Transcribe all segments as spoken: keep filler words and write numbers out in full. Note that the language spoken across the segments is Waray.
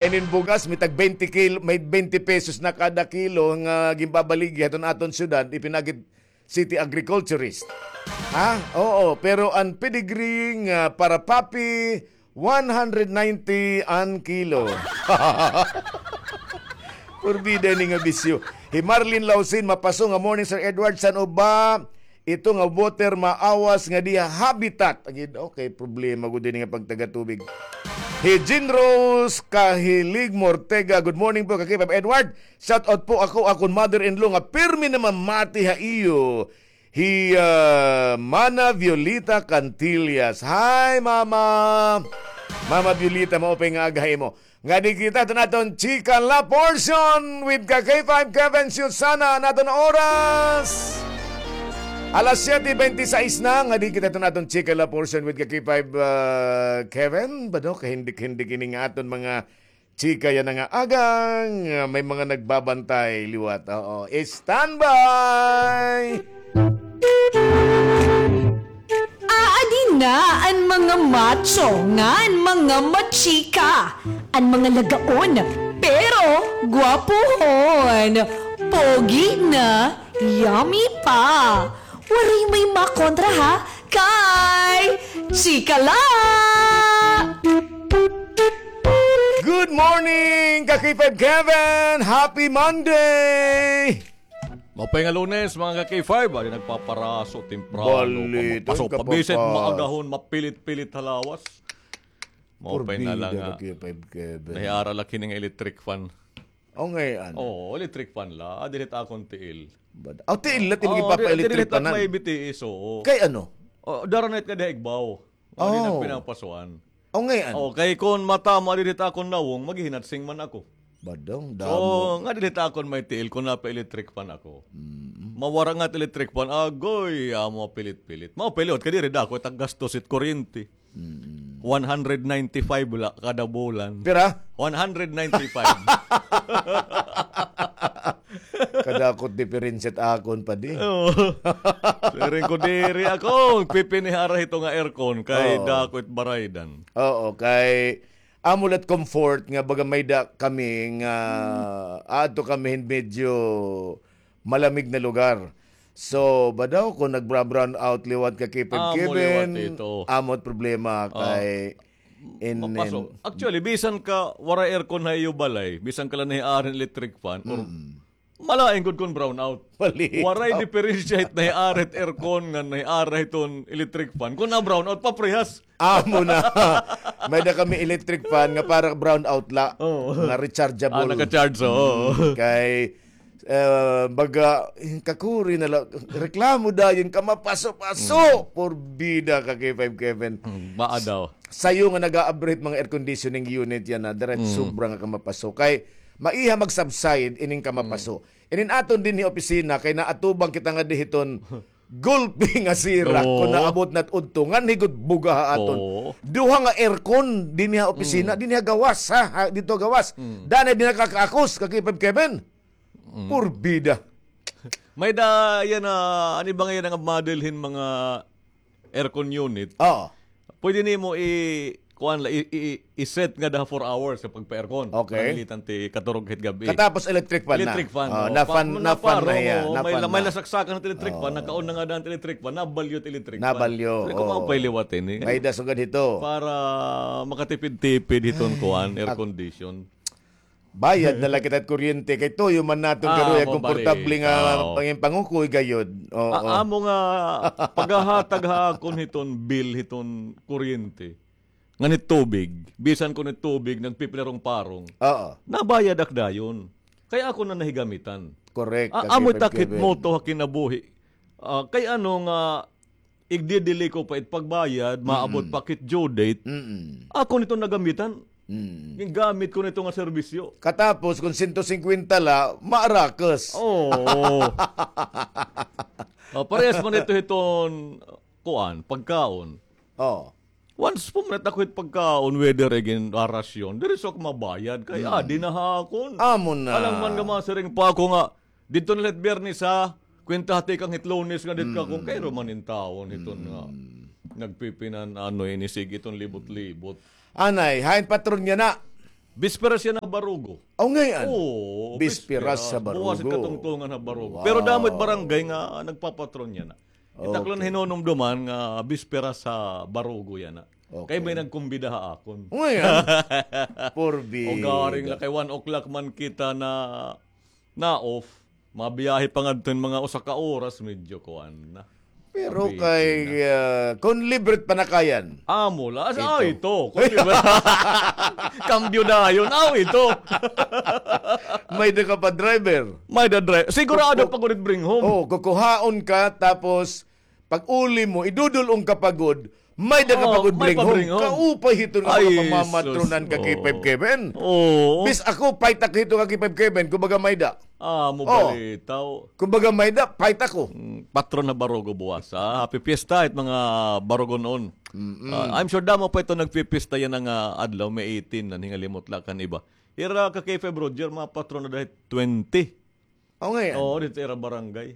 Inin bugas, may tag twenty kilo, may twenty pesos na kada kilo nga ginbabaligi haton aton syudad, ipinagit city agriculturist. Ha? Oo, pero an pedigree nga para papi, one hundred ninety an kilo. Purbida ini nga bisyo. Hi Marlene Lausin, mapaso nga morning, Sir Edward, san-o ba ito nga water maawas nga diha habitat. Agid, okay, problema gud ini nga pagtaga tubig. Hi Jean Rose Kahilig Mortega, good morning po, Kakipab Edward. Shout out po ako, akon mother-in-law nga pirmi namamati ha iyo. Hi, ah, Mana Violeta Cantillas. Hi, Mama. Mama Violeta, maupay nga aga ha imo. Ngadi kita, ito na aton chika la portion with ka K five Kevin Susana, naton oras. Alas siyete bente sais na, ngadi kita, ito na aton chika la portion with ka K five, ah, Kevin. Bado, kahindik-hindik ini nga aton mga chika yana nga agang, ah, may mga nagbabantay liwat. Oo, standby! Aadi na an mga macho ngan mga machika, an mga lagaon, pero gwapohon, pogi na, yummy pa. Waray may makontra ha, kay chika la! Good morning, ka K five Kevin! Happy Monday! Maupay nga Lunes, mga ka K five. Adi nagpaparaso, temprano. Bali, paso, ito, pabisit, kapapas. Maagahon, mapilit-pilit ha lawas. Maupay na la nga. Porbida, ka K five Kevin. Nahiara la kini nga electric fan. O, ngay-an. Oo, electric fan la. Adi la it akon tiil. Bad-, aw, tiil la it imo gipapa-electric fan-an? Oo, may B T S, oo. Kay ano? O, dara na it nga diha igbaw. Adi nagpinapasuan. O, ngay-an. O, kay kon matama didi it akon nawong, maghihinatsing man ako. Badong, damo. So, nga didi it akon may tiil kon napa-electric fan ako. Mm. Mawara nga it electric fan, agoy, amo pilit-pilit. Mao pa liwat kay diri dako it gastos it kuryente. Mm. One hundred ninety-five la kada bulan. Pira? One hundred ninety-five. Kadako it diferensya it akon, padi. Oo. Siring ko diri ako, pipinihara hito nga aircon kay dako it baraydan. Oo, kay amo la it comfort nga baga may-ada kami nga aadto kami hin medyo malamig na lugar. So, badaw kon nagbra-brown out liwat ka K five Kevin, amo it problema kay in, mapaso. Actually, bisan ka waray aircon ha iyo balay, bisan ka la nahiara hin electric fan, or malain gud kon brown out. Waray diferensya it nahiara hit aircon ngan nahiara hiton electric fan. Kon na-brown out, paprehas. Amo na. May-ada kami electric fan nga para brown out la. Oo. Nga rechargeable. Ah, naka-charge, oo. Mm, kay, eh, baga, kakuri na la, reklamo dayon, kamapaso-paso. Mm. Porbida ka K five Kevin. Mm, baa daw. Sayo nga nag-a-average mga air conditioning unit yana, dara sobra nga kamapaso. Kay, maiha mag-subside ining kamapaso. Inin aton dinhi opisina, kay naatubang kita nga dihiton gulpi nga sira kon naabot na it udto, nganhi gud buga ha aton. Oo. Duha nga aircon dinhi ha opisina, dinhi ha gawas, ha, ha, didto ha gawas. Mm. Danay dinhi nakakaakos, ka K five Kevin. Mm. Porbida. May-ada yana, ano ba nga yana nga model hin mga aircon unit. Oo. Pwede nimo i-, kuan la, i-, i-, i-set nga daha four hours sa pagpa-aircon. Okay. Pananglitan ti katurog hit gab-i. Katapos electric fan na. Electric fan, oo. Na-fan, na-fan na hiya. May la-, may lasaksakan hit electric fan, naka-on na ngada it electric fan, nabalyo it electric fan. Nabalyo, oo. Sabi ko, maupay liwat ini. May-ada sugad hito. Para makatipid-tipid hiton kuan, air condition. Bayad na la kita hit kuryente, kay tuyo man naton karuya, komportable nga pangin-, pangukoy gayod. Oo. A-, amo nga paghahatag ha akon hiton bill hiton kuryente. Ngan hit tubig, bisan kon hit tubig nagpipinarong-parong. Oo. Nabayad ak dayon. Kay akon na nahigamitan. Correct. A-, amo it ak hit motto ha kinabuhi. Ah, kay ano nga igdi-delay ko pa it pagbayad, maabot pa ak hit due date. Mm-mm. Akon ito nagamitan. Mm. Gingamit ko nito nga serbisyo. Katapos, kon sento singkwenta la, maarakas. Oo. O, parehas man ito hiton, kuan, pagkaon. Oo. Once pumunit ako hit pagkaon, whether igin rasyon, diri sa ako mabayad, kay adi na ha akon. Amo na. Alangan man nga masiring pa ako nga, didto na la hit Biyernes, ha? Kwenta ha tikang hit Lunes nga didto ka kon kay iro man in tawon hiton nga nagpipinan-ano ini, sige, hiton libot-libot. Anay, hain patron yana? Bisperas yana ha Barugo. Aw, ngay-an. Oo, bisperas ha Barugo. Buwas it katungtungan ha Barugo. Pero damo it barangay nga nagpapatron yana. It akon la hinunumduman nga bisperas ha Barugo yana. Kay may nagkumbida ha akon. Ngay-an. Porbida. O garing la kay one o'clock man kita na, na-off. Mabiyahe pa ngadto hin mga usa ka oras, medyo kuan na. Pero kay, ah, kon libre it panakayan. Amo la. Asa, ah, ito. Kon libre. Kambyo dayon. Ah, ito. May-ada ka pa driver. May-ada driver. Sigurado pa gud it bring home. Oh, kukuhaon ka, tapos pag-uli mo, idudul-ong ka pa gud, may-ada ka pa gud bring home. Kaupay hiton nga mga pamamatronan ka, K five Kevin. Oo. Bis ako, fight ako hiton ka, K five Kevin, kumbaga may-ada. Ah, mo balitaw. Kumbaga may-ada, fight ako. Mm, patron ha Barugo buwas, ha? Happy Fiesta, it mga Barugon-on. Ah, I'm sure damo pa ito nagpipiesta yana nga adlaw, May eighteen, nanhingalimot la kan iba. Ira ka K five Roger, mga patron na dahil twenty. O, ngay-an. Oo, didto ira barangay.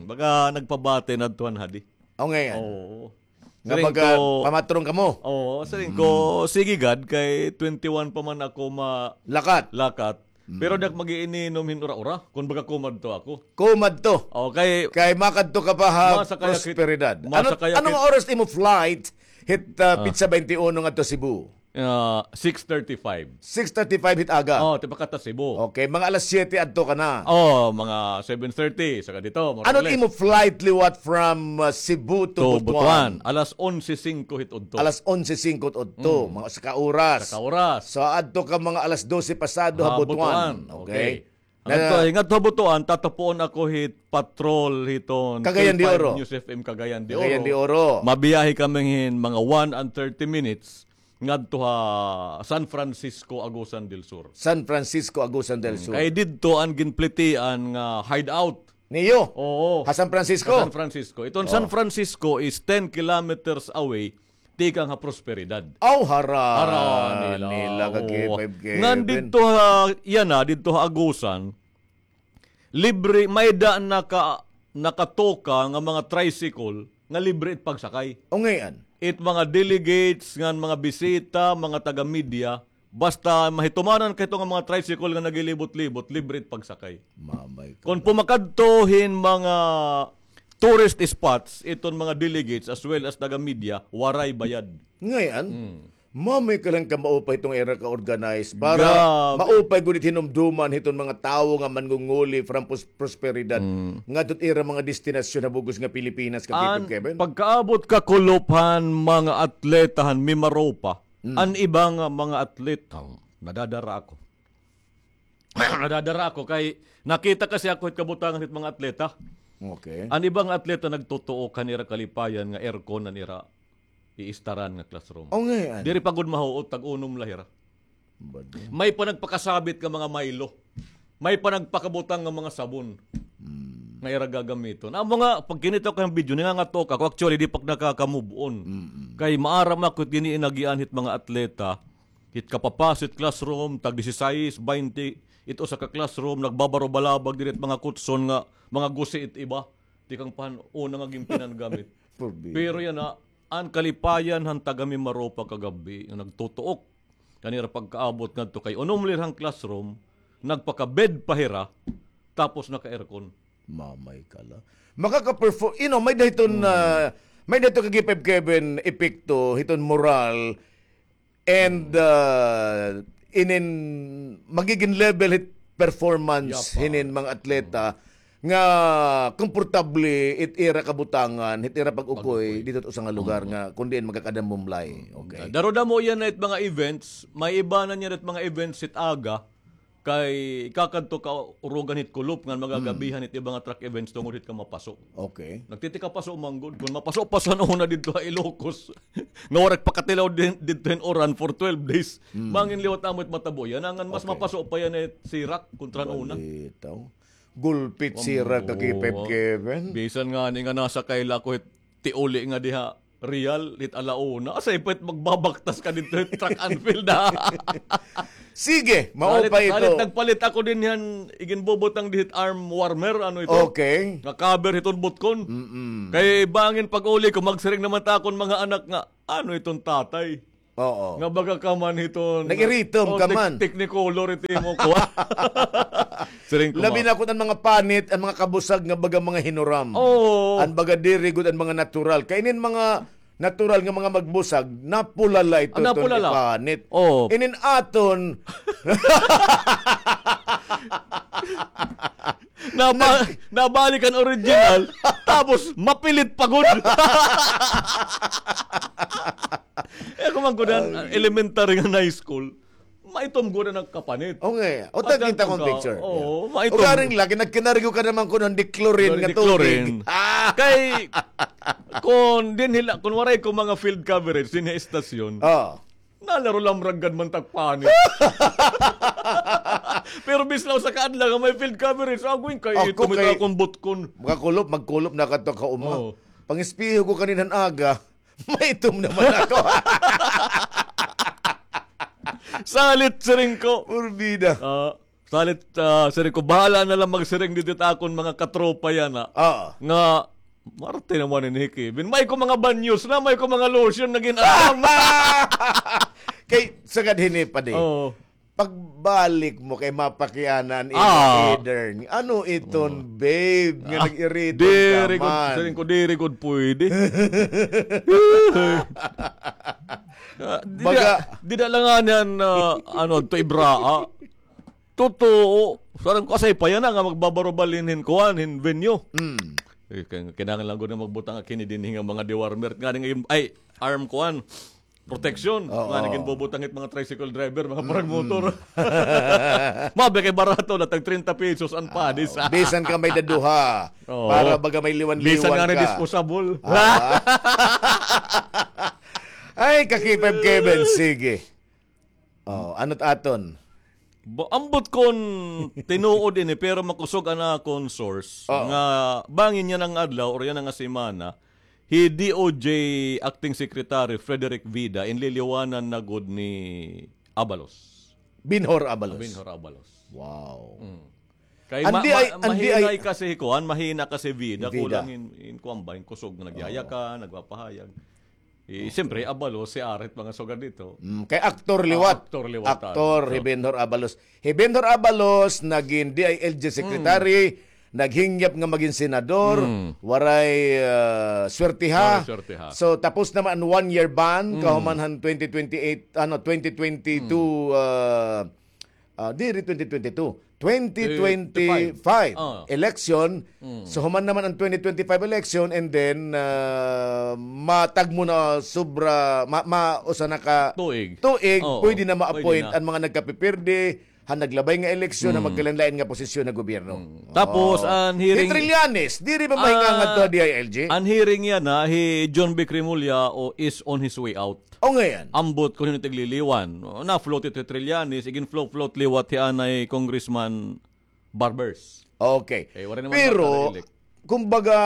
Baga nagpabati na adto han hadi. O, ngay-an. Oo. Nga baga pamatron kamo. Oo, siring ko, sige gad, kay twenty-one pa man ako ma-, lakat. Lakat. Pero di ak mag-iininom hin ura-ura, kon baga kumadto ako. Kumadto. O, kay makadto ka pa ha prosperidad. Ano, ano nga oras imo flight hit, ah, pitsa twenty-one ngadto Cebu? Ah, six thirty-five. Six thirty-five hit aga. Oh, tipakadto Cebu. Okay, mga alas siyete adto ka na. Oh, mga seven thirty, saka dito, more or less. Ano imo flight liwat from, uh, Cebu to Butuan? Alas onse singko hit udto. Alas onse singko hit udto, mga usa ka oras. Usa ka oras. So, adto ka mga alas dose pasado ha Butuan. Okay. Ngadto, ngadto ha Butuan, tatapuon ako hit patrol hiton Cagayan de Oro. News F M Cagayan de Oro. Cagayan de Oro. Mabiyahe kami hin mga one and thirty minutes ngadto ha San Francisco, Agusan del Sur. San Francisco, Agusan del Sur. Kay didto an ginplitian nga hideout. Niyo? Oo. Ha San Francisco? Ha San Francisco. Iton San Francisco is ten kilometers away tikang ha Prosperidad. Aw, hara nila ka K five Kevin. Ngan didto ha, yana, didto ha Agusan, libre, may-ada naka-, nakatoka nga mga tricycle nga libre it pagsakay. O, ngay-an? It mga delegates, ngan mga bisita, mga taga-media, basta mahitumanan ka hito nga mga tricycle nga naglilibot-libot, libre it pagsakay. Kon pumakadto hin mga tourist spots, iton mga delegates as well as taga-media, waray bayad. Ngay-an? Mamay ka lang ka maupay hiton ira ka-organize para maupay gud it hinumduman hiton mga tawo nga manngunguli from pros-, prosperidad ngadto hit ira mga destinasyon ha bug-os nga Pilipinas, ka Kevin. Pagkaabot ka kulop han mga atleta han Mimaropa, an iba nga mga atleta, nadadara ako. Nadadara ako kay nakita kasi ako hit kabutangan hit mga atleta. Okay. An iba nga atleta nagtutuok han ira kalipayan nga aircon an ira iistaran nga classroom. O, ngay-an? Diri pa gud mahuot, tag-unom la hira. May pa nagpakasabit nga mga Milo. May pa nagpakabutang nga mga sabon nga ira gagamiton. Amo nga, pag kinita ko an video, nangangatok ako. Actually, di pa ak nakaka-move on. Kay maaram ako hit gin-iinagian hit mga atleta. Hit kapapas hit classroom, tag-disisais, baynte, it usa ka classroom, nagbabaro-balabag diri it mga kutson nga mga gusi it iba. Tikang pa han una nga ginpinangamit. Pero yana, an kalipayan han taga-Mimaropa kagab-i nga nagtutuok. Kan ira pagkaabot ngadto kay unom la hira han classroom, nagpaka-bed pa hira, tapos naka-aircon. Mamay ka la. Makaka-perform, you know, may-ada hiton, ah, may-ada hiton ka K five Kevin epekto hiton moral and, ah, inin magigin level hit performance hinin mga atleta nga komportable it ira kabutangan, hit ira pag-ukoy didto hit usa nga lugar nga kon diin magkakadamumlay. Okay. Darudamo yana it mga events, may iba na niya it mga events hit aga, kay kakadto ka urugan hit kulop ngan magagabihan it iba nga track events tungod hit kamapaso. Okay. Nagtitikapaso man gud. Kon mapaso-paso an una didto ha Ilocos, nga waray pakatilaw didto hin uran for twelve days. Bangin liwat amo it matabo yana, ngan mas mapaso pa yana hit sirak kontra han una. Balitaw. Gulpi it sirak ka K five Kevin. Bisan ngani nga nasakay la ako hit tiuli nga diha Real, hit ala una. Asay pa it magbabaktas ka didto hit track and field, ha? Sige, maupay ito. Salit nagpalit ako dinhi han iginbubutang dihit arm warmer, ano ito? Okay. Nga cover hiton butkon. Kay bangin pag-uli ko, magsiring naman ta akon mga anak nga, ano iton tatay? Oo. Nga baga ka man hiton, nag-iritom ka man. Technicolor ito imo kuan. Siring ko, labi na kun an mga panit, an mga kabusag nga baga mga hinuram. Oo. An baga diri gud an mga natural. Kay inin mga natural nga mga magbusag, napulala ito, ah, napulala. Ipanit. Oo. Inin aton. Naba-, nabalik an original, tapos mapilit pa gud. Eh, kung man gud an elementary nga high school, maitom gud an nagkapanit. Okay. O, tagkita kong picture. Oo, maitom. O, garing lagi, nagkinarigo ka naman kuno hin dichlorine nga tubig. Ah! Kay, kung dinhi la, kung waray ko mga field coverage, dinhi istasyon. Oo. Nalaro lamrag gad man tagpanit. Pero bisan la usa ka adlaw nga may field coverage, agoy, kay ako itom kay ito akon butkon. Magkakulop, magkulop na kadto ka uma. Oo. Pangispiho ko kaninang aga, maitom naman ako. Salit, siring ko. Purbida. Ah, salit, ah, siring ko, bahala na lang magsiring didto akon mga katropa yana. Oo. Nga, marte naman ini, Kevin. May ko mga banyos na, may ko mga lotion na gin-aram. Kay, sagad hini pa di. Oo. Pagbalik mo kay mapakianan, ah, imo, Edern. Ano iton, babe, nga nag-irita ka man? Diri gud, siring ko, diri gud pwede. Ah, dida, baga, dida la ngani an, ah, ano, adto Ibraa. Totoo. Sarang ko, asay pa yana nga magbabarobal hin, hin kuan, hin venue. Mm. Eh, kin-, kinahanglan gud nga magbutang ak hini dinhi nga mga dewormer. Ngani nga, ay, arm kuan. Protection. Oo. Ngani ginbubutang hit mga tricycle driver, mga parang motor. Mabi kay barato na, tag treinta pesos an pads. Bisan ka may daduha. Oo. Para baga may liwan-liwan ka. Bisan ngani disposable. Ah. Ay, kakipay Kevin, sige. Oh, ano't aton? Ba-, ambot kon tinuod ini, pero makusog an akon source, oo, nga bangin yana nga adlaw or yana nga semana, hi D O J Acting Secretary Frederick Vida, inliliwanan na gud ni Abalos. Binhor Abalos. Ah, Binhor Abalos. Wow. Mm. Kay ma-, ma-, mahinay kasi kuan, mahina kasi Vida, kulang in, in kuan ba, in kusog nga nagyayakan, nagpapahayag. Eh, siyempre, Abalos, si Arit, mga sugad dito. Mm, kay aktor liwat. Ah, aktor liwat, aktor, hi Benhur Abalos. Hi Benhur Abalos, nagin D I L G secretary, naghingyap nga magin senador, waray, ah, swertiha. Waray swertiha. So, tapos naman an one-year ban, kahuman han twenty twenty-eight, ano, twenty twenty-two, ah, Ah, diri twenty twenty-two, twenty twenty-five election. So, human naman an twenty twenty-five election, and then, ah, matagmo na sobra, ma-, ma-, usa na ka tuig, pwede na ma-appoint an mga nagkapipirdi han naglabay nga eleksyon, han magkalain-lain nga posisyon ha gobyerno. Tapos, an hearing, hi Trillanes, diri ba mahinga ngadto ha D I L G? An hearing yana, hi John Vic Remulla is on his way out. O, ngay-an. Ambot kon hin-o it igliliwan. Na-float ito hi Trillanes, igin-float-float liwat hi anay Congressman Barbers. Okay. Pero, kumbaga,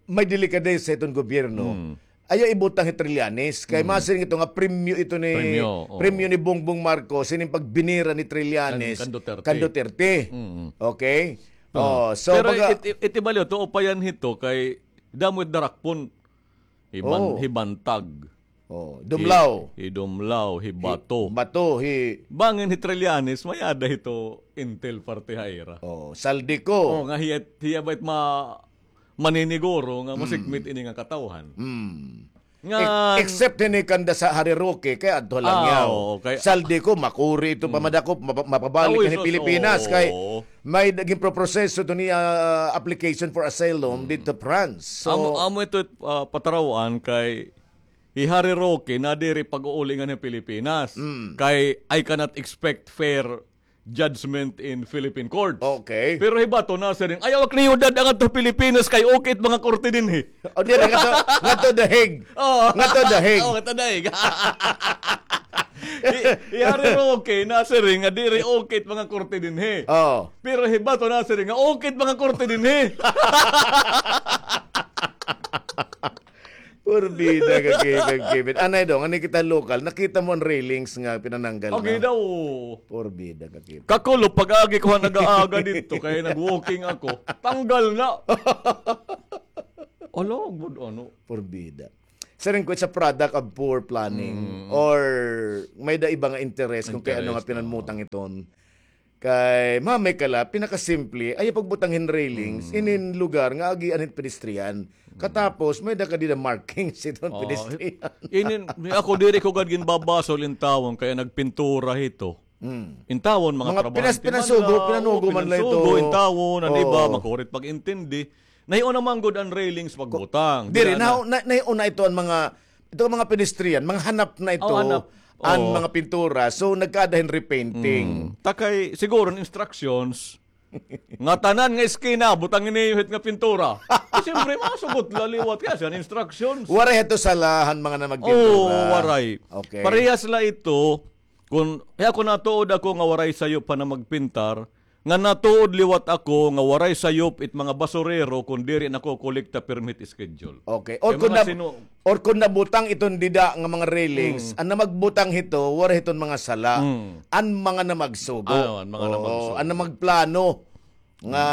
may delikadesa iton gobyerno. Ayaw ibutang hi Trillanes, kay masiring ito nga premyo ito ni, premyo ni Bongbong Marcos, ining pagbinira ni Trillanes kan Duterte. Okay? Oh, so, pero baga, it, it, iti baliw, tuo pa yan hito, kay damo it darakpon. Hi Ban-, hi Bantag. Oh, Dumlao. Hi, hi Dumlao, hi Bato. Bato, hi. Bangin hi Trillanes, may-ada hito intel parte ha ira. Oh, Zaldy Co. Oh, nga hiya, hiya ba it ma-, maniniguro nga masikmit ini nga katawhan. Ngan except hini kanda sa Harry Roque, kay adto la niya. Zaldy Co, makuri ito pa madakop, mapa-, mapabalik kan Pilipinas, kay may nagin proproseso ito niya, ah, application for asylum didto France. So, amo, amo ito, ah, pataraw-an kay hi Harry Roque nadiri pag-uuli nganhi Pilipinas. Kay I cannot expect fair judgment in Philippine courts. Okay. Pero hi Bato nasiring, ayaw ak niyudad ngadto Pilipinas kay okay it mga korte dinhi. O, diri, ngadto, ngadto The Hague. Oo. Ngadto The Hague. Oo, ngadto The Hague. Hi, hi Harry Roque nasiring nga diri okay it mga korte dinhi. Oo. Pero hi Bato nasiring nga okay it mga korte dinhi. Purbida ka, Kevin, Kevin. Anay, Dong, anay kita lokal. Nakita mo an railings nga pinananggal na? Okay daw. Purbida ka, Kevin. Kakulop, pag-agi ko han aga-aga didto, kay nag-walking ako. Tanggal na. Ala, gud, ano? Purbida. Siring ko, it's a product of poor planning or may-ada iba nga interes kon kay ano nga pinanmutang iton. Kay mamay ka la, pinakasimple, ayaw pagbutang hin railings inin lugar nga agian hin pedestrian. Katapos, may-ada ka dida markings iton pedestrian. Inin, ako diri ko gad ginbabasol in tawon kay nagpintura hito. In tawon, mga trabahante man la, pinansugo, pinanugo man la ito. Pinansugo in tawon, an iba, makurit pag-intindi. Nahiuna man gud an railings pagbutang. Diri, nahiuna ito an mga, ito an mga pedestrian, mga hanap na ito an mga pintura. So, nagkaada hin repainting. Ta kay, siguro, an instructions, nga tanan nga eskina, butang ini hit nga pintura. Siyempre, masugot la liwat kay asya an instructions. Waray hito sala han mga namagpintura. Oo, waray. Okay. Parehas la ito, kon, kay ako natuod ako nga waray sayop han namagpintar, nga natuod liwat ako nga waray sayop it mga basurero kon diri nakokolekta permit schedule. Okay. Or kon na, or kon nabutang iton dida nga mga railings, an namagbutang hito, waray hiton mga sala. An mga namagsugo. Ano, an mga namagsugo. An namagplano. Nga,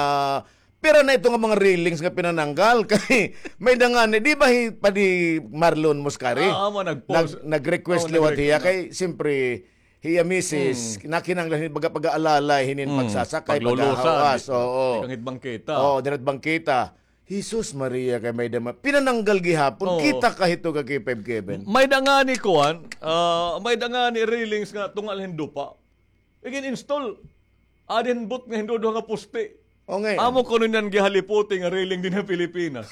pira na ito nga mga railings nga pinananggal kay may-ada ngani, di ba hi Padi Marlon Muscari? Ah, amo, nag-post. Nag-, nag-request liwat hiya kay, siyempre, hiya misis, nakinahanglan hin baga pag-aalalay hinin pagsasakay, paghahawas. Oo. Tikang hit bangketa. Oo, dira't bangketa. Jesus Maria, kay may-ada ma-, pinananggal gihapon. Oo. Kita ka hito ka K five Kevin. May-ada ngani kuan, ah, may-ada ngani railings nga tunga la hin dupa. Igin-install. Adi hin bot nga hin duduha nga poste. O, ngay-an. Amo kuno niyan gihaliputi nga railing dinhi ha Pilipinas.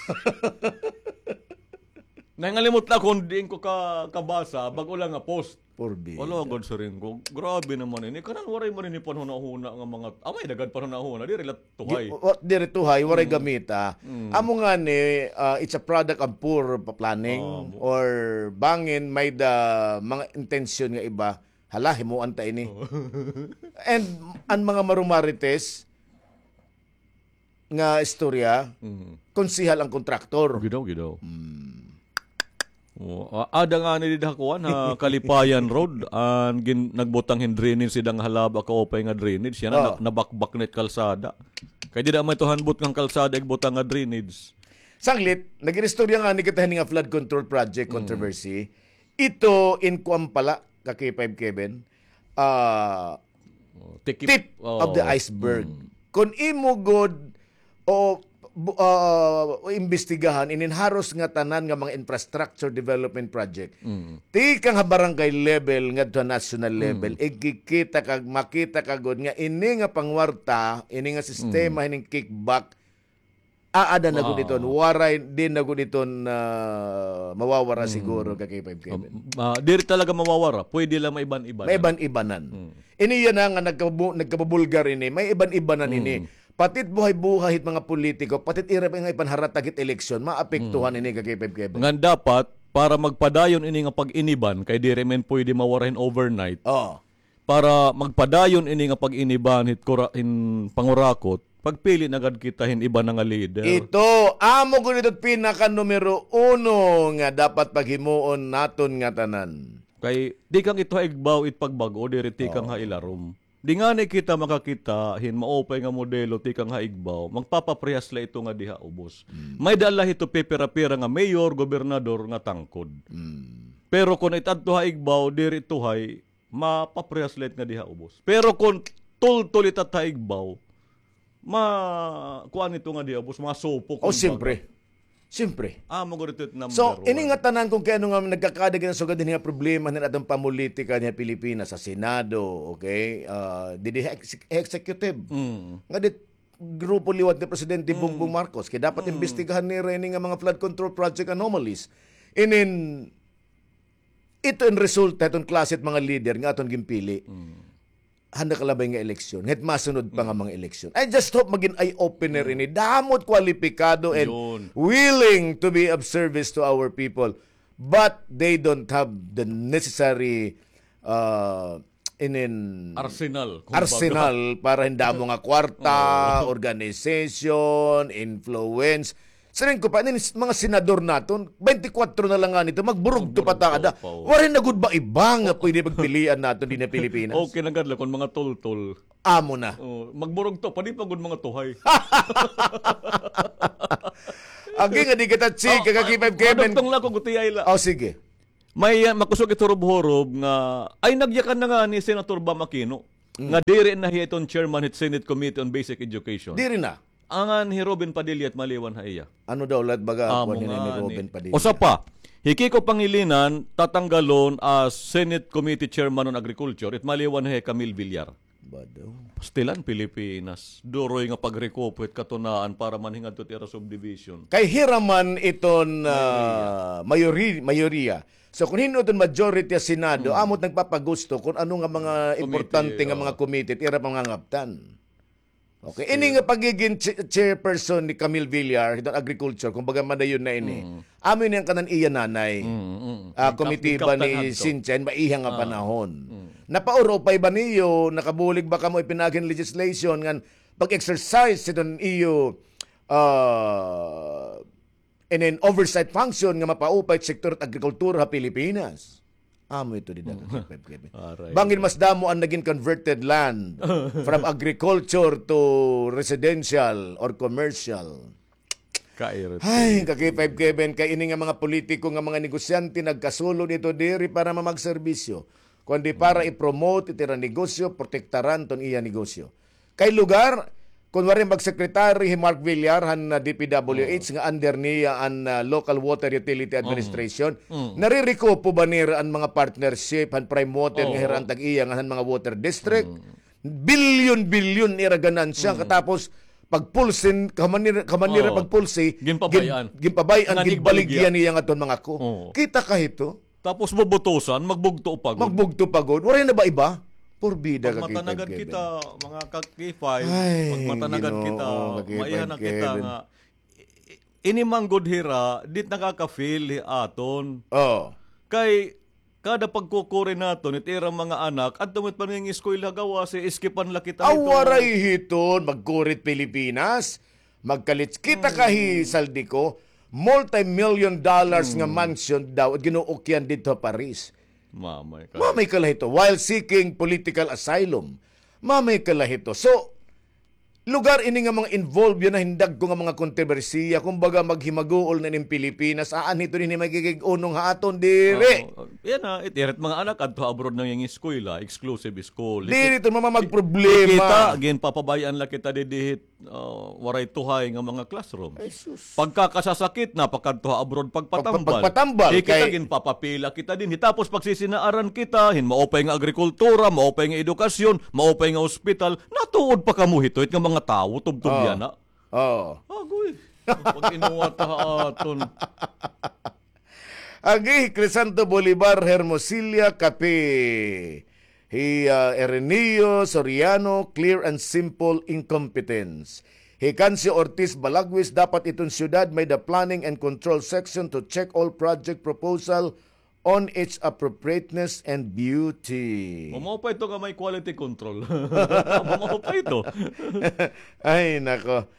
Nangalimot la kon diin ko ka, kabasa, bag-o la nga post. Porbida. Wala gud, siring ko. Grabe naman ini. Kanan waray man ini panhunahuna nga mga, amay daghan panhunahuna. Diri la tuhay. Diri tuhay, waray gamita. Amo ngani, ah, it's a product of poor pa-, planning or bangin may-ada mga intensyon nga iba. Hala, himuan ta ini. Oo. And an mga marumarites nga istorya, konsehal an kontraktor. Gidaw, gidaw. O, a-, ada ngani dida ha kuan, ha Kalipayan Road, an gin-, nagbutang hin drainage dida nga halaba, kaupay nga drainage. Yana, na-, nabakbak na it kalsada. Kay dida man ito han butang kalsada, igbutang nga drainage. Sanglit, nag-inistorya ngani kita hini nga flood control project controversy. Ito in kuan pa la, ka K five Kevin, ah, tip of the iceberg. Kon imo gud o bu-, ah, imbestigahan inin haros nga tanan nga mga infrastructure development project, tikang ha barangay level ngadto ha national level, igkikita ka, makita ka gud nga ini nga pangwarta, ini nga sistema hining kickback, aada na gud iton, waray, di na gud iton, ah, mawawara siguro ka K five Kevin. Ah, diri talaga mawawara. Pwede la maiban-ibanan. Maiban-ibanan. Ini yana nga nagkabu-, nagkabubulgar ini, maiban-ibanan ini. Pati it buhay-buhay hit mga politiko, pati it ira nga ipanharatag hit eleksyon, maapektuhan ini ka K five Kevin. Ngan dapat, para magpadayon ini nga pag-iniban, kay diri man pwede mawara hin overnight. Oo. Para magpadayon ini nga pag-iniban hit kura-, hin pangurakot, pagpili na gad kita hin iba na nga leader. Ito, amo gud ito it pinaka numero uno nga dapat paghimuon naton ngatanan. Kay tikang ito ha igbaw it pagbag-o, diri tikang ha ilarom. Di ngani kita makakita hin maupay nga modelo tikang ha igbaw, magpapaprehas la ito nga diha ubos. May-ada la hito pipira-pira nga mayor, gobernador nga tangkod. Pero kon it adto ha igbaw, diri tuhay, mapaprehas la it nga diha ubos. Pero kon tultol it adto ha igbaw, ma-, kuan ito nga diha ubos, masupok. O, siyempre. Siyempre. Amo gud ito it number one. So, ini nga tanan kon kay ano nga nagkakada kita sugad dinhi nga problema hinin aton pamulitika dinhi ha Pilipinas, ha Senado, okay? Ah, didi ha ex-, executive. Nga dit grupo liwat ni Presidente Bongbong Marcos, kay dapat imbestigahan nira ini nga mga flood control project anomalies. Inin, ito in resulta hiton klase it mga leader nga aton ginpili. Han nakalabay nga eleksyon, ngan hit masunod pa nga mga eleksyon. I just hope magin eye-opener ini. Damo it kwalipikado and willing to be of service to our people. But they don't have the necessary, uh, inin arsenal, kumbaga, arsenal para hin damo nga kwarta, organization, influence. Siring ko pa, inin s-, mga senador naton, baynte kwatro na la ngani ito, magburugto pa ta ada. Waray na gud ba iba nga pwede pagpilian naton dinhi ha Pilipinas? Okay na gad la kon mga tultol. Amo na. O, magburugto pa, di pa gud mga tuhay. Agi nga di kita chika, ka K five Kevin. Madugtong la ko, gutiay la. Oh, sige. May, ah, makusog it hurob-hurob nga, ay, nagyakan na ngani hi Senator Bam Aquino nga diri na hiya iton chairman hit Senate Committee on Basic Education. Diri na. Angan hi Robin Padilla it maliwan ha iya. Ano daw lat baga kuan hini ni Robin Padilla? Usa pa, hi Kiko Pangilinan tatanggalon as Senate Committee Chairman on Agriculture, it maliwan ha iya hi Camille Villar. Bado. Pastilan Pilipinas. Duroy nga pagrekupo hit katunaan para man hingadto it ira subdivision. Kay hira man iton, ah, mayori-, mayoriya. So, kun hin-o iton majority ha Senado, amo it nagpapagusto kun ano nga mga importante nga mga committee it ira pangangaptan. Okay. Ini nga pagigin chi-, chairperson ni Camille Villar, hiton agriculture, kumbaga madayon na ini. Amo ini an kanan iya nanay. Ah, komitiba ni Cynthia, maiha nga panahon. Napaurupay ba niyo, nakabulig ba kamo ipinagin legislation ngan pag-exercise hiton iyo, ah, in an oversight function nga mapaupay it sektor it agrikultura ha Pilipinas. Amo ito dida, ka K five Kevin. Bangin mas damo an nagin converted land from agriculture to residential or commercial. Ay, ka K five Kevin, kay ini nga mga politiko nga mga negosyante nagkasulod ito diri para mamagserbisyo, kundi para i-promote it ira negosyo, protektaran ton iya negosyo. Kay lugar, kun waray mag-secretary hi Mark Villar han, ah, D P W H nga under niya an, ah, Local Water Utility Administration, narirekupo ba nira an mga partnership han Prime Water nga hira an tag-iya ngan han mga water district? Bilyon-bilyon ira ganansya, katapos pagpulsin, kaman nira, kaman nira pagpulsi, ginpabay-an, ginbaligya niya ngadton mga ko. Kita ka hito? Tapos bubutusan, magbugto pa gud. Magbugto pa gud. Waray na ba iba? Porbida ka, K five Kevin. Pag matanagad kita, mga ka K five, pag matanagad kita, maiha na kita nga, i-, i-, ini man gud hira, di it nakaka-feel hi aton. Oo. Kay, kada pagkukuri naton, it ira mga anak, adto man it pangingiskwela ha gawas, eh, iskipan la kita hito. Aw, waray hiton, magkuri it Pilipinas. Magkalit kita ka hi Zaldy ko, multi-million dollars nga mansion daw it gin-uukyan didto ha Paris. Mamay ka. Mamay ka la hito, while seeking political asylum. Mamay ka la hito. So, lugar ini nga mga involved yana hin dagko nga mga kontrobersiya, kumbaga maghimaguol na ini hin Pilipinas, aanhi ito dinhi magigig-unong ha aton, diri. Oo, yana, it ira it mga anak adto ha abroad nangingiskwela, exclusive school. Diri ito, mama, magproblema. Kita, ginpapabay-an la kita didi hit, ah, waray tuhay nga mga classrooms. Ay, sus. Pagkakasasakit na, pakadto ha abroad, pagpatambal. Pag-, pagpatambal, kita kay ginpapapila kita dinhi. Tapos pagsisinaaran kita hin maupay nga agrikultura, maupay nga edukasyon, maupay nga ospital, natuod pa kamo hito, it nga mga tawo, tubtob yana. Oo. Agoy. Pag-inuwat ha aton. Agi, Crisanto Bolivar, Hermosilla, Cape. Hi, ah, Ireneo Soriano, clear and simple incompetence. Hi Cancio Ortiz Balagwis, dapat iton syudad may-ada planning and control section to check all project proposal on its appropriateness and beauty. Mao pa ito nga may quality control. Mao pa ito. Ay, nako.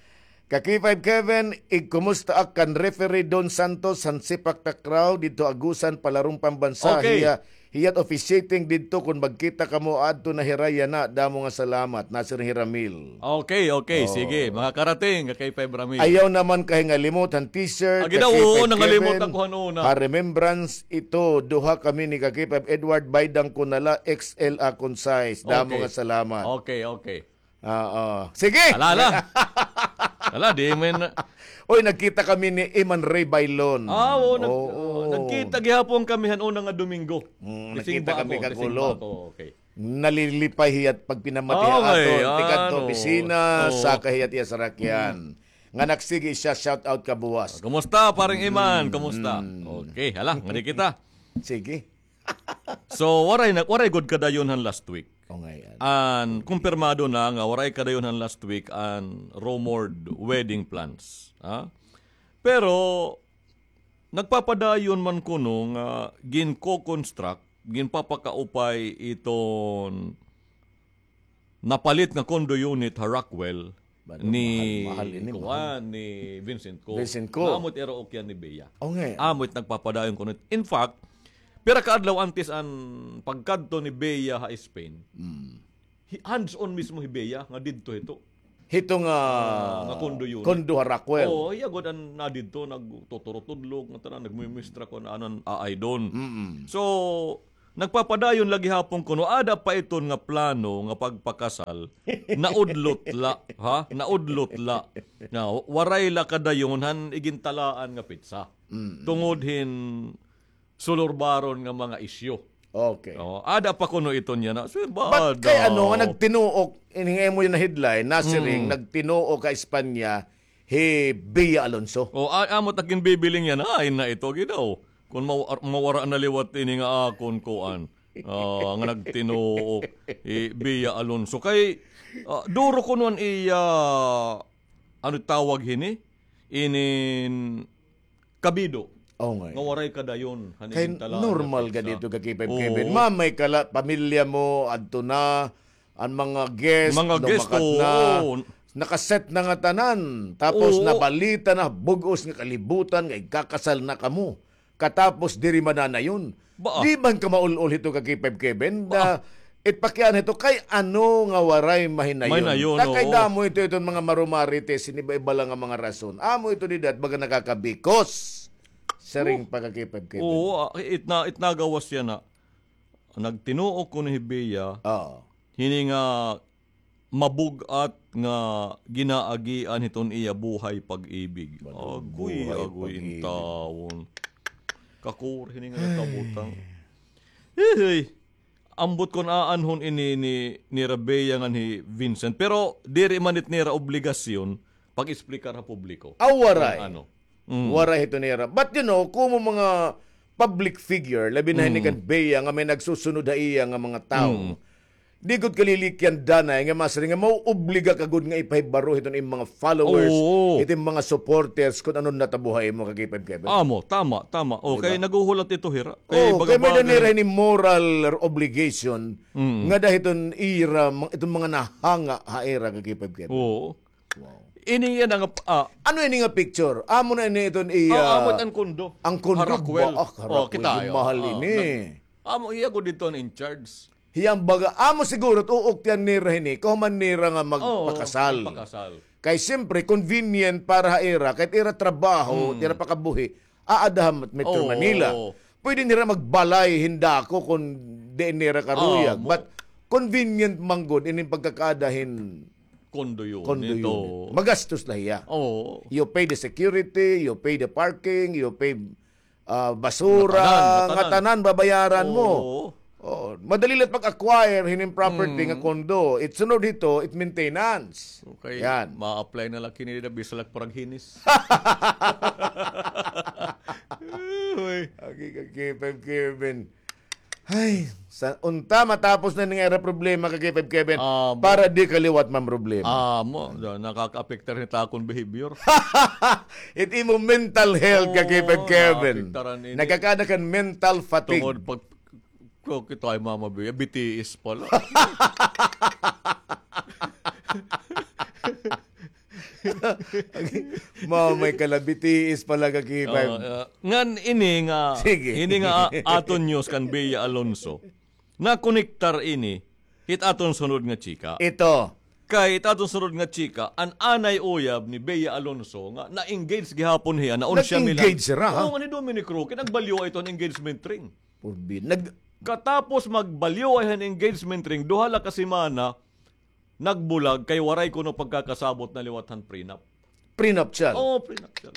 Ka K five Kevin, igkumusta ak kan referee Don Santos han Sepak Takraw didto Agusan, Palarong Pambansa. Okay. Hiya, hiya't officiating didto, kun magkita kamo adto na hira yana, damo nga salamat. Nasir hi Ramil. Okay, okay, sige. Makakarating ka K five Ramil. Ayaw naman kahingalimot han t-shirt, ka K five Kevin. Agi daw, oo, nangalimot ako han una. Ha remembrance ito, duha kami ni ka K five Edward, baydang ko na la, X L akon size. Damo nga salamat. Okay, okay. Oo. Sige. Ala, ala. Ala, di man. Oy, nagkita kami ni Iman Ray Bailon. Ah, oo, nag-, oo, nagkita gihapon kami han una nga Domingo. Mm, nagkita kami kagulo. Gising ba ako? Gising ba ako? Okay. Nalilipay hiya't pagpinamati ha aton. Tikadto opisina, saka hiya't iya sarakyan. Nga nagsige siya, shout out kabuwas. Kumusta, parang Iman? Kumusta? Okay, hala, ngadi kita. Sige. So, waray na, waray gud kadayon han last week. O, ngay-an. An kumpirmado na nga waray kadayon han last week an rumored wedding plans. Ha? Pero, nagpapadayon man kuno nga ginko-construct, ginpapakaupay iton napalit nga condo unit ha Rockwell ni, mahal, mahal ini, kuan, ni Vincent Co. Vincent Co. Amo it ira ukyan ni Bea. O, ngay-an. Amo it nagpapadayon kuno. In fact, pira ka adlaw antes an pagkadto ni Bea ha Spain, hi-, hands-on mismo hi Bea nga didto hito. Hito nga, ah, nga condo unit. Condo ha Rockwell. Oo, iya gud an na didto, nagtuturutudlog, nga tanan, nagmumistra kon ano an aay don. Mm-mm. So, nagpapadayon la gihapon kuno, ada pa iton nga plano nga pagpakasal, naudlot la, ha? Naudlot la. Na, waray la kadayon han igintalaan nga petsa. Mm-mm. Tungod hin sulurbaron nga mga isyu. Okay. Oh, ada pa kuno iton yana. So, but kay ano nga nagtinuok, ini nga imo yana headline, nasiring, nagtinuok ha Espanya, hi Bea Alonso. Oh, a-, amo ta ginbibiling yana, ay na ito, gidaw. Kung maw-, mawara na liwat ini nga akon kuan. Ah, nga nagtinuok, hi Bea Alonso. Kay, ah, duro kuno an iya, ano tawag hini? Inin kabido. Oo nga. Nga waray kadayon han igintalaan nga petsa. Kay normal gad ito ka K five Kevin. Oo. Mamay ka la, pamilya mo, adto na, an mga guest, lumakat na. Oo. Nakaset na nga tanan. Tapos nabalita na, bug-os nga kalibutan, nga igkakasal na kamo. Katapos diri mananayon. Di man ka maul-ol hito ka K five Kevin, na it pakiana hito kay ano nga waray mahinayon. Mahinayon, oo. Kay damo ito, iton mga marumarites, hiniba-iba la nga mga rason. Amo ito dida, baga nakakabikos. Siring pa ka K five Kevin. Oo, ah, it na, it nagawas yana. Nagtinuok kuno hi Bea. Oo. Hini nga mabug-at nga ginaagian hiton iya buhay pag-ibig. Agoy, agoy, intawon. Kakuri hini nga nakabutang. Hey, ambot kon aanhon ini ni, ni Bea ngan hi Vincent. Pero diri man it nira obligasyon pag-explicar ha publiko. Aw, waray. Waray hito nira. But you know, komo mga public figure, labi na hini kan Bea nga may nagsusunod ha iya nga mga tawo. Di gud kalilikyan danay nga masiring nga maoobliga ka gud nga ipahibaro hiton imo mga followers, hiton mga supporters, kon ano natabo ha imo ka K five Kevin. Amo, tama, tama. O, kay naghuhulat ito hira. Kay may-ada nira hini moral obligation nga da hiton ira, iton mga nahanga ha ira ka K five Kevin. Oo. Wow. Ini yana nga, ah, ano ini nga picture? Amo na ini iton iya, amo it an kondo. An kondo. Harakwel. Ba, ah, harakwel, mahal ini. Amo iya gud didto an in charge. Hiya an baga, amo siguro, uuktian nira hini, kahuman nira nga magpakasal. Magpakasal. Kay siyempre, convenient para ha ira, kay ira trabaho, ira pakabuhi, aada ha Metro Manila. Pwede nira magbalay hin dako kon diin nira karuyag. But convenient man gud ini pagkakaada hin condo unit. Magastos la hiya. Oo. You pay the security, you pay the parking, you pay, ah, basura, ngatanan, babayaran mo. Oo. Madali la pag-acquire hinin property nga condo. It sunod hito, it maintenance. Okay. Yan. Ma-apply na la kini dida, bisan la parang hinis. Uy. Agi ka, K five Kevin. Ay, sa unta matapos na ning ira problema ka K five Kevin, para di ka liwat mamroblema. Amo, nakakaapektar hini ha akon behavior. It imo mental health ka K five Kevin. Nagkakaada kan mental fatigue. Tungod pag, ko, kito ay mama, B T S pala. Mao may kalabi, tiis pala ka K five. Oo, ah, ngan ini nga, ini nga, ah, aton news kan Bea Alonso, nakonektar ini hit aton sunod nga chika. Ito. Kay it aton sunod nga chika, an anay uyab ni Bea Alonso nga na-engage gihapon hiya, naunsa mi la. Nag-engage hira, ha? Oo, nga ni Dominic Roque, nagbalyo ito an engagement ring. Purbi-, nag- Katapos magbalyo ay han engagement ring, duha la ka semana, nagbulag kay waray kuno pagkakasabot na liwat han prenup. Prenuptial. Oo, prenuptial.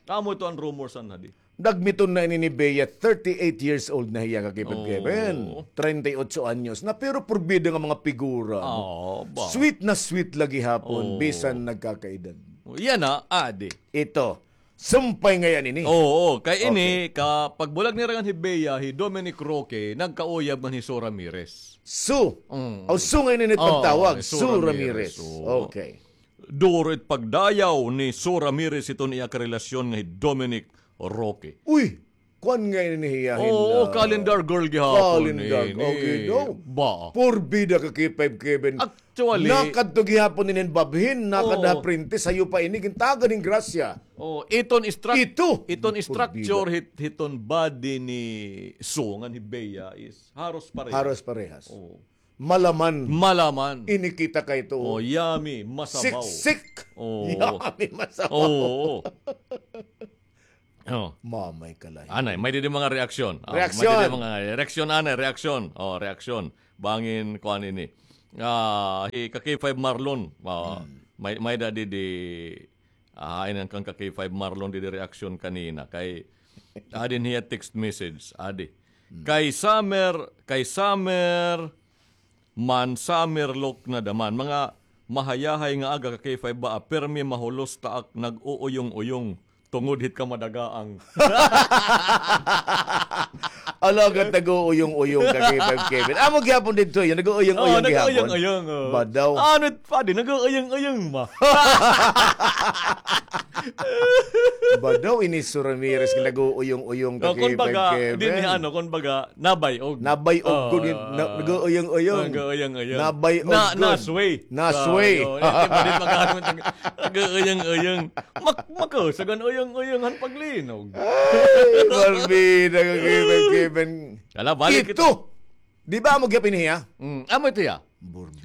Amo ito an rumors an hadi. Nagmiton na ini ni Bea, thirty-eight years old na hiya ka K five Kevin. Oo. Treinta y ocho anyos na, pero purbida nga mga figura, no? Oo, ba? Sweet na sweet la gihapon, bisan nagkakaedad. Yana, adi. Ito. Sumpay ngay-an ini. Oo, kay ini, ka pagbulag nira ngan hi Bea, hi Dominic Roque, nagkauyab man hi Sue Ramirez. Sue. Mm. Aw, Sue ngay-an ini pagtawag. Sue Ramirez. Oo. Okay. Duro it pagdayaw ni Sue Ramirez hiton iya karelasyon nga hi Dominic Roque. Uy! Kuan ngay-an ini hiya hin, oo, ah, calendar girl gihapon ini. Calendar. Okay daw. Ba? Purbida ka K five Kevin. Actually, nakadto gihapon ini hin babhin, nakadto ha Princess, sayo pa ini, gintagan hin grasya. Oh, iton struct-, ito, iton structure hit-, hiton body ni Sue ngan hi Bea is haros parehas. Haros parehas. Oh. Malaman. Malaman. Ini kita kay to. Oh, yummy, masabaw. Siksik. Oo. Yummy, masabaw. Oo. Oh. Mamay ka lahi. Anay, may didi mga reaksyon. Ah, reaksyon. May didi mga reaksyon, anay, reaksyon. Oh, reaksyon. Bangin, kuan ini. Ah, hi ka K five Marlon. Ah, may, may da didi, ah, hain an kan ka K five Marlon didi reaksyon kanina. Kay, adi hiya text message. Adi. Kay Summer, kay Summer, man, Summer look na daman. Mga mahayahay nga aga ka K five ba, ah, permi mahulos ta ak nag-uuyong-uyong tungod hit kamadagaang. Alagad nag-uuyong-uyong ka K five Kevin. Amo gihapon didto, yun, nag-uuyong-uyong gihapon. Oo, nag-uuyong-uyong, oo. Badaw. Ano, padi, nag-uuyong-uyong ma. Badaw, ini Su Ramirez, nag-uuyong-uyong ka K five Kevin. Oh, kun baga, dinhi, ano, kun baga, nabay-og. Nabay-og, kun na-, nag-uuyong-uyong. Nag-uuyong-uyong. Nabay-og, kun. Na-sway. Na-sway. Oo, eh, di ba, di ba, nag-uuyong-uyong. Mak-, makusog an uyong-uyong han paglinog. Ay, Barbie, nag-uuyong-uyong. Ala, balik kita. Ito! Di ba amo gihapon hiya? Mm, amo ito hiya.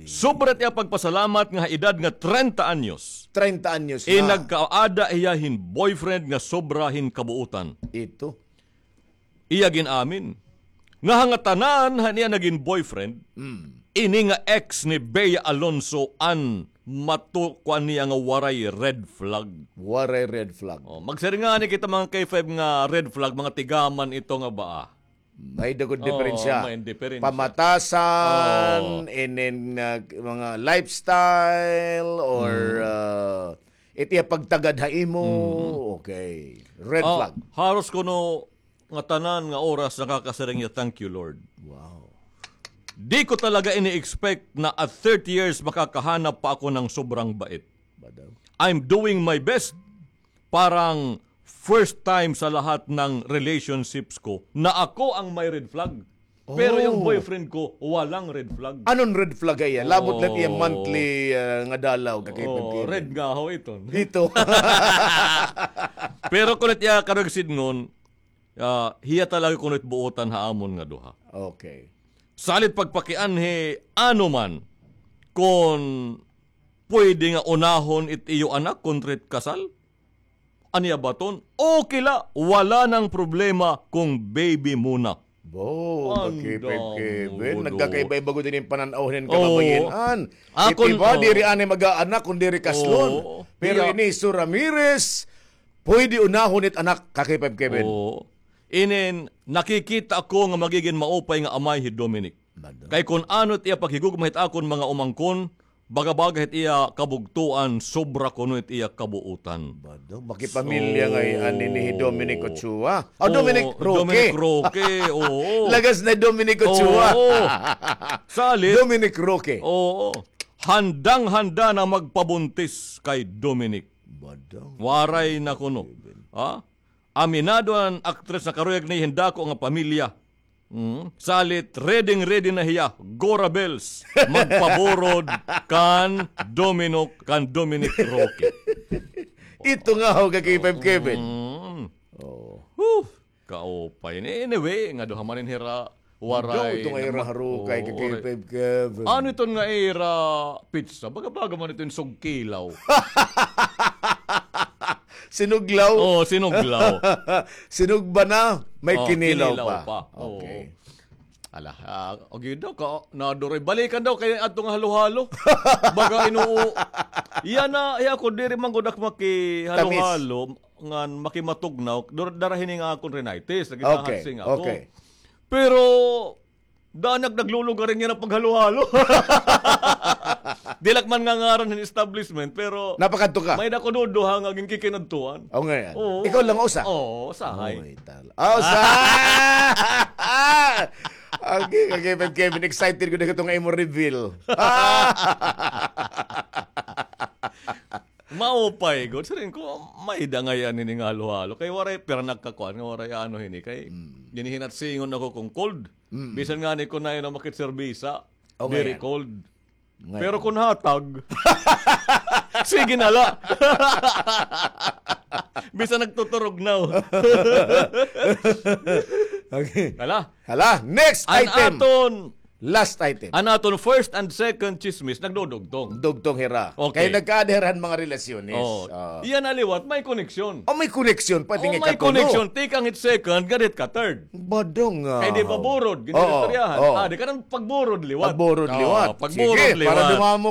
Sobra it iya pagpasalamat nga ha edad nga treinta anyos. Treinta anyos na. Nagkaada hiya hin boyfriend nga sobra hin kabuotan. Ito. Iya gin-amin nga ha ngatanan han iya nagin boyfriend, ini nga ex ni Bea Alonzo an matukuan niya nga waray red flag. Waray red flag. Oh, magsiring ngani kita mga K five nga red flag, mga tigaman ito nga ba, ah? May da gud diperensya. Oo, may diperensya. Pamatasan, and then, uh, mga lifestyle, or, uh, it iya pagtagad ha imo. Okay. Red flag. Haros kuno ngatanan nga oras nakakasiring hiya, "Thank you, Lord." Wow. Di ko talaga ini-expect na at thirty years makakahanap pa ako ng sobrang bait. Badaw. I'm doing my best. Parang first time sa lahat ng relationships ko na ako ang may red flag. Pero yung boyfriend ko, walang red flag. Anon red flag ha iya? Labot la it iya monthly, ah, nga dalaw, ka K five Kevin. Red nga ho ito. Ito. Pero kun it iya karuyag sidngon, ah, hiya talaga kuno it buotan ha amon nga duha. Okay. Salit pagpakianhi, ano man, kun pwede nga unahon it iyo anak kontra it kasal? An iya baton, okay la, wala nang problema kung baby muna. Bo, ka K five Kevin, nagkakaiba-iba gud ini hin panan-aw hin kababayen-an. It iba, diri anay mag-aanak kun diri kaslon. Pero ini Su Ramirez, pwede unahon it anak, ka K five Kevin. Oo. Inin, nakikita ko nga magigin maupay nga amay hi Dominic. Kay kun ano it iya paghigugma hit akon mga umangkon, baga-baga hit iya kabugtoan, sobra kuno it iya kabuotan. Bado, makipamilya ngay-an ini hi Dominic Ochoa. Ah, Dominic Roque. Dominic Roque, oo. Lagas na Dominic Ochoa. Oo. Salit. Dominic Roque. Oo. Handang-handa na magpabuntis kay Dominic. Bado. Waray na kuno. Ha? Aminado an aktres nga karuyag ni hin dako nga pamilya. Mm. Salit, ready-ready na hiya. Gora bells. Magpaburod kan Dominic, kan Dominic Roque. Ito nga ho, ka K five Kevin. Mm. Oh. Huh, kaupay. Anyway, nga duha man ini hira waray. Ito nga ira harukay, ka K five Kevin. Ano iton nga ira pizza? Baga-baga man iton sugkilaw. Sinuglaw? Oo, sinuglaw. Sinugba na, may kinilaw pa. Oo. Okay. Ala, ah, okay daw ka, naduroy. Balikan daw kay adto nga halo-halo. Baga inuo. Iya na, iya ko, diri man gud ak makihalo-halo, ngan makimatugnaw, dur-, dara hini nga akon rhinitis, nagkakahatsing ako. Okay, okay. Pero, Daan ak naglulugar niya nga paghalo-halo. Diri ak man ngangaran hin establishment, pero napakadto ka. May-ada ko duduha nga ginkikinadtuan. Oo nga yan. Oo. Ikaw lang usa. Oo, usahay. Oy, tala. Ah, usa! Okay, okay, Kevin, excited ko na ito nga imo reveal. Maupay gud. Siring ko, may-ada ngay-an hini nga halo-halo. Kay waray, pero nagkakuan nga waray ano hini. Kay, ginihinatsingon ako kung cold. Mm. Bisan ngani kun naay namakit serbisa, very cold. Pero kun hatag, sige na la. Bisan nagtuturog na. Okay. Hala. Hala, next item. An aton Last item. An aton first and second chismis, nagdudugtong. Dugtong hira. Okay. Kay nagkaada hira han mga relasyones. Oh. Ah. Iya na liwat, may koneksyon. Oh, may koneksyon pa, oh, tingin may ka, koneksyon. Tikang hit second, ngadto hit ka third. Badong, ah. Kay di ba burod, gini Oo, istoryahan. Oo. Ah, di ka nang pagburod liwat. Pagburod Oo, liwat. Pagburod Sige, liwat. Para dumamo